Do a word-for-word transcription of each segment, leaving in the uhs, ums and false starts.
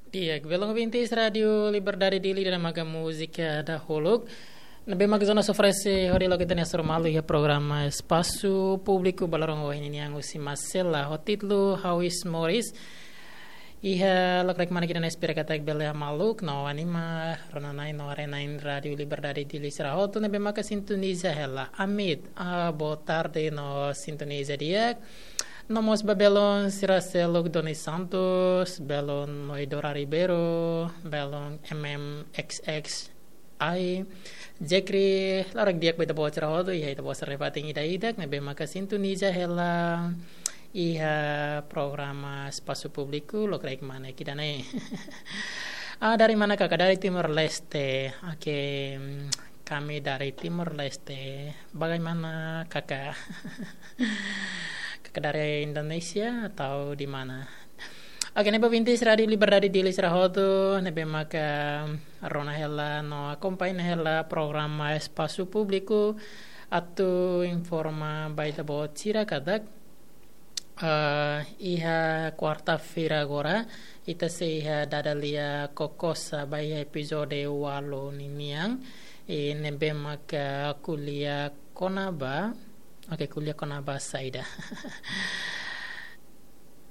Di'ak, belun ouvintes Rádiu Liberdade Dili, ida-ne'e maka múzika dahuluk ne'ebé maka Jonas oferese hodi loke ita-nia hasoru malu iha programa Espasu Públiku ba loron ohin nian husi Masela ho títulu Ha'u Iis Moris. Iha lokraik mane ita-nia espera katak bele maluk no anima rona-na'in no haree-na'in Rádiu Liberdade Dili sira hotu ne'ebé maka sintoniza hela. Amit, ah, boa tarde no sintoniza di'ak. No mós ba belun sira seluk Doni Santos, belun Noidora Ribeiro, belun M M X X I, Jekri, loron di'ak ba ita-boot sira hotu, iha ita-boot sira fatin ida-idak ne'ebé maka sintoniza hela iha programa Espasu Públiku lokraik mane ita-nia. Ah, dari mana kakak? Dari Timor Leste. Oke, mm, kami dari Timor Leste. Bagaimana kakak? Kakak dari Indonesia atau di mana? Oke, ne'e ba ouvintes Rádiu Liberdade Dili sira hotu ne'ebé maka rona hela no akompaña hela programa Espasu Públiku, atu informa ba ita-boot sira katak, eh, iha kuarta-feira agora, ita sei iha dada lia kokosa ba iha epizode ualu ninian, i ne'ebé maka ko'alia kona-ba, oke, ko'alia kona-ba saida.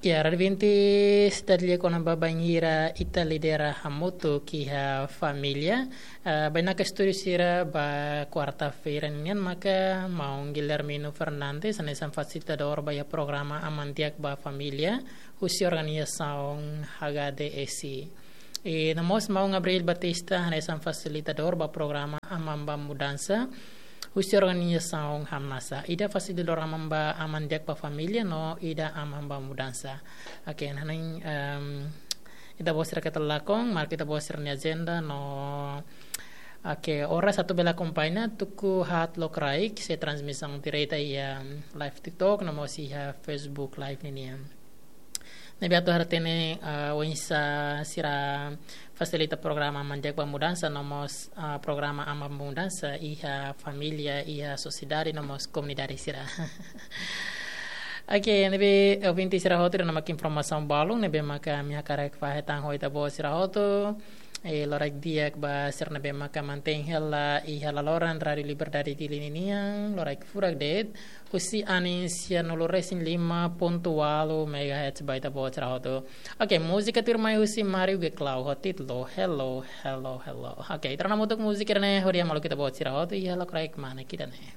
Ya, rádiu ouvintes, dada lia kona-ba bainhira ita lidera hamutuk iha família. Eh, bainaka estúdiu sira ba kuarta-feira nian maka maun Guilhermino Fernandes, hanesan fasilitadór ba iha programa Aman Di'ak ba Família, husi organizasaun H K D S I. I no mós maun Gabriel Batista, hanesan fasilitadór ba programa Aman ba Mudansa, husi organizasaun Hamnasa. Ida fasilitadór Aman ba, Aman Di'ak ba Família, no ida Aman ba Mudansa. Oke, naning, em, ita-boot sira keta lakon, marka ita-boot sira-nia ajenda, no, oke, oras atu bele akompaña, tuku haat lokraik, sei transmisaun direta iha, em, live TikTok, no mós iha Facebook Live ninian. Ne'ebé atu hatene, ah, oinsá sira fasilita programa Aman Di'ak ba Mudansa, no mós, ah, programa Aman ba Mudansa iha família, iha sosiedade, no mós komunidade sira. Oke, ne'ebé ouvintes sira hotu, ida-ne'e maka informasaun balun ne'ebé maka ami hakarak fahe tan ho ita-boot sira hotu. I loraik di'ak ba sira ne'ebé maka mantein hela iha laloran Rádiu Liberdade Dili ninian, loraik furak de'it, husi anin sianulu-resin-lima pontu ualu megahertz ba ita-boot sira hotu. Oke, múzika tuirmai husi Mario Geclau ho títulu Hello, Hello, Hello. Oke, ita rona hamutuk múzika ne'e hodi hamaluk ita-boot sira hotu iha lokraik mane ita-nia.